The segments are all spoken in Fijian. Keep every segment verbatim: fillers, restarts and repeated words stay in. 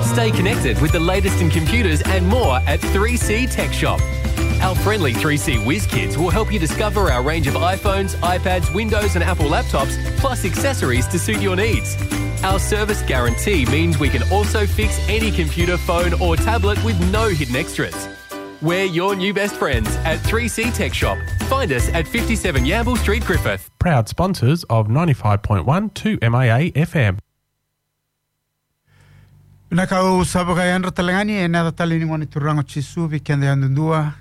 Stay connected with the latest in computers and more at three C Tech Shop. Our friendly three C whiz kids will help you discover our range of iPhones, iPads, Windows, and Apple laptops, plus accessories to suit your needs. Our service guarantee means we can also fix any computer, phone, or tablet with no hidden extras. We're your new best friends at three C Tech Shop. Find us at fifty-seven Yamble Street, Griffith. Proud sponsors of ninety-five point one two M I A F M. Vinaka, au sa vakayadra tale ga yani ena yaca talei ni Gone Turaga o Jisu vei keda yadudua.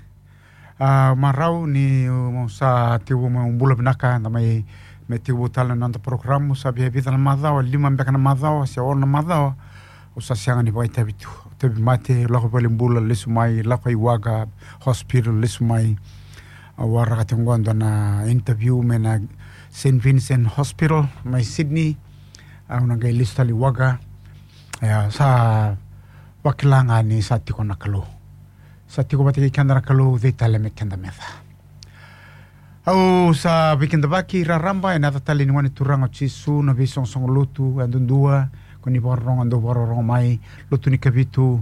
A, marau ni, um, sa tekivu mai, um, bula vinaka, da mai, mai tekivu tale na noda porokaramu, sa via vica na macawa, lima beka na macawa, se ono na macawa, au sa sega ni vakaitavi tu. Tauvimate, lako i valenibula, lesu mai, lako i Wagga Hospital, lesu mai. Au waraka tiko qo e dua na interview mai na Saint Vincent Hospital mai Sydney. Au na qai lesu tale i Wagga. Ia, sa vakila ga ni sa tiko na Kalou. Sa tiko vata kei keda na Kalou, cei tale me keda meca. Au sa veikidavaki raraba ena yaca talei ni Gone Turaga o Jisu, na veisoqosoqo lotu yadudua, ko ni vakarorogo, dou vakarorogo mai, Lotu ni Kavitu,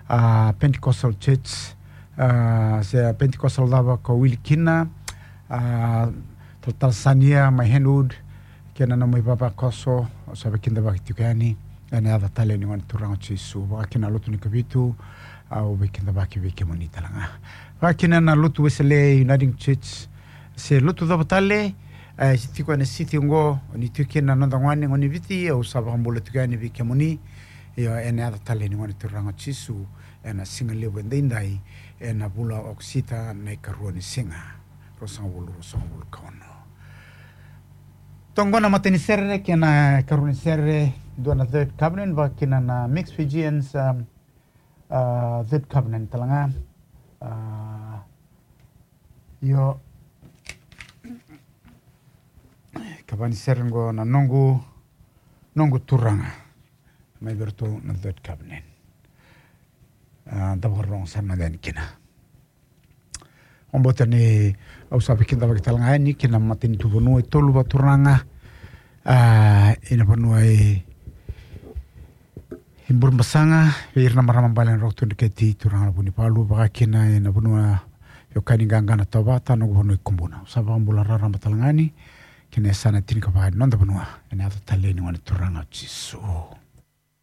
a, Pentecostal Church, a, se Pentecostal cava ko wili kina, a, talatala Sania mai Hentwood, kei na nomu ivavakoso, au sa veikidavaki tiko yani ena yaca talei ni Gone Turaga o Jisu. Vaka kina na Lotu ni Kavitu, au veikidavaki vei kemuni tale ga. Vaka kina na Lotu Wesele, Uniting Church, se lotu cava tale, e, se tiko ena siti oqo, ni tiko kina na noda gone, gone Viti, au sa vakabula tiko yani vei kemuni. Io, ena yaca talei ni Gone Turaga o Jisu, ena siga levu edaidai, ena vula o Okosita, na ikarua ni siga, ruasagavulu, ruasagavulu ka ono. Toqo na matai ni sere kei na ikarua ni sere, dua na Third Covenant, vaka kina na Mixed Fijians, um, a, Third Covenant tale ga. A, io. Kava ni sere qo na Noqu, Noqu Turaga. Mai vei iratou na Third Covenant. A, da vakarorogo sara mada yani kina. Au vakabauta ni au sa veikidavaki tale ga yani kina matanitu vanua e tolu vakaturaga. A, ena vanua e, e Burebasaga, vei ira na marama bale na Roko Tui Dreketi, turaga na Vunivalu, vaka kina ena vanua e Okaniqaqa na Tovata, noqu vanua e Kubuna. Au sa vakabula raraba tale ga yani kina yasana tinikava ni noda vanua, ena yaca talei ni Gone Turaga o Jisu.